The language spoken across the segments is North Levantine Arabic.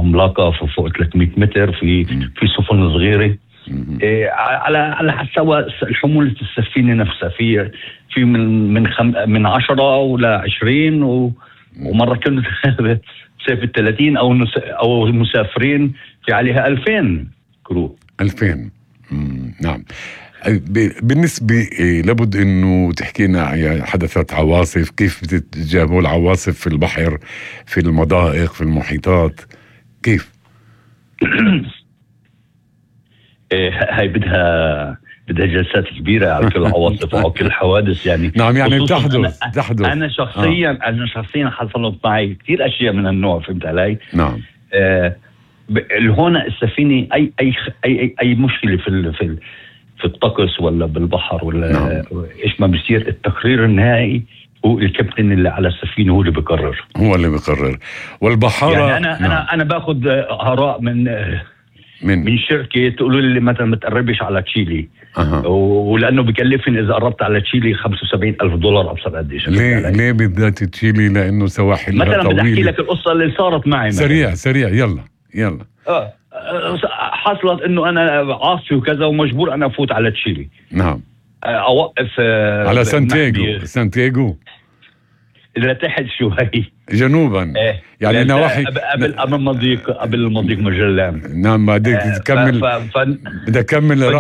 عملاقة فوق 300 متر، في سفن صغيرة. على حسب حمولة السفينة نفسها، في من 10 ولا 20 ومرة كانت تسافر 30 أو مسافرين في عليها 2000 كرو. 2000. نعم. بالنسبة لابد انه تحكينا، يعني حدثت عواصف، كيف بتتجابوا العواصف في البحر، في المضائق، في المحيطات، كيف؟ هاي بدها جلسات كبيرة على كل العواصف وعلى كل الحوادث يعني. نعم، يعني تحدث. أنا شخصيا حصلت معي كثير أشياء من النوع، فهمت علي؟ نعم. هون السفينة أي مشكلة في الطقس ولا بالبحر ولا نعم. إيش ما بيصير، التقرير النهائي هو الكابتن اللي على السفينة، هو اللي بيقرر. والبحارة يعني أنا باخذ آراء من شركة تقولوا لي مثلا ما تقربش على تشيلي. ولأنه بكلفني إذا قربت على تشيلي $75,000 أبصر قديش. ليه بالذات تشيلي؟ لأنه سواحلها طويلة. مثلا بدي أحكي لك القصة اللي صارت معي. سريع يلا. حصلت إنه أنا عاصفي وكذا ومجبور أنا أفوت على تشيلي. نعم. أوقف على سانتياغو لتحت شوي جنوبا. يعني نواحي قبل المضيق مجلان. نعم. بدك تكمل. بدك تكمل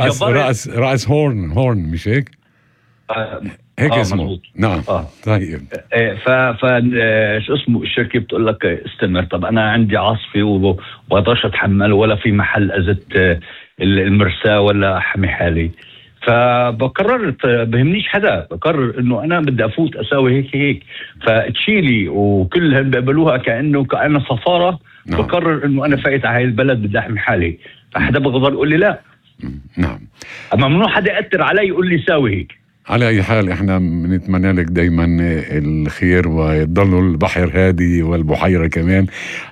رأس هورن مش هيك؟ هيك اسمه. مزبوط. نعم. طيب. شو اسمه الشركة بتقول لك استمر. طب أنا عندي عاصفة وبقدرش أتحمل، ولا في محل أزت المرساة ولا أحمي حالي. فبقررت بهمنيش حدا، بقرر انه انا بدي افوت اساوي هيك. فتشيلي وكلهم بيقبلوها كأنه سفارة. نعم. بقرر انه انا فايت على هاي البلد بدي احمي حالي، فحدا بقدر يقول لي لا. نعم. اما ممنوع حدا يأثر علي يقول لي ساوي هيك. على اي حال احنا بنتمنى لك دايما الخير، ويضلوا البحر هادي والبحيرة كمان.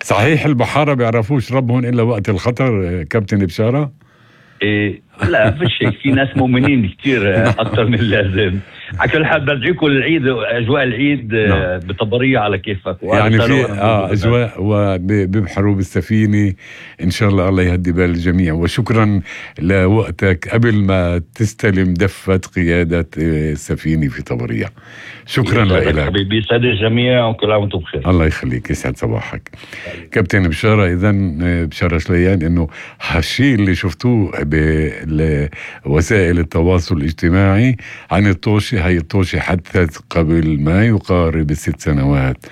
صحيح البحارة بيعرفوش ربهم الا وقت الخطر كابتن بشارة؟ لا فيش هيك، في ناس مؤمنين كتير اكثر من اللازم. على كل حال بدعيكم العيد، اجواء العيد بطبريه على كيفك. يعني في اجواء وبيبحروا بالسفينه ان شاء الله يهدي بال الجميع. وشكرا لوقتك قبل ما تستلم دفة قيادة السفينة في طبرية. شكرا لك حبيبي، يسعد الجميع وكل عام وانتم بخير. الله يخليك، يسعد صباحك. كابتن بشارة. إذن بشارة شليان، إنه هالشي اللي شفتوه بوسائل التواصل الاجتماعي عن الطوشة، هاي الطوشة حدثت قبل ما يقارب 6 سنوات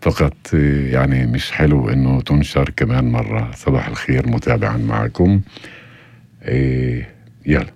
فقط. يعني مش حلو إنه تنشر كمان مرة. صباح الخير متابعا معكم. يلا.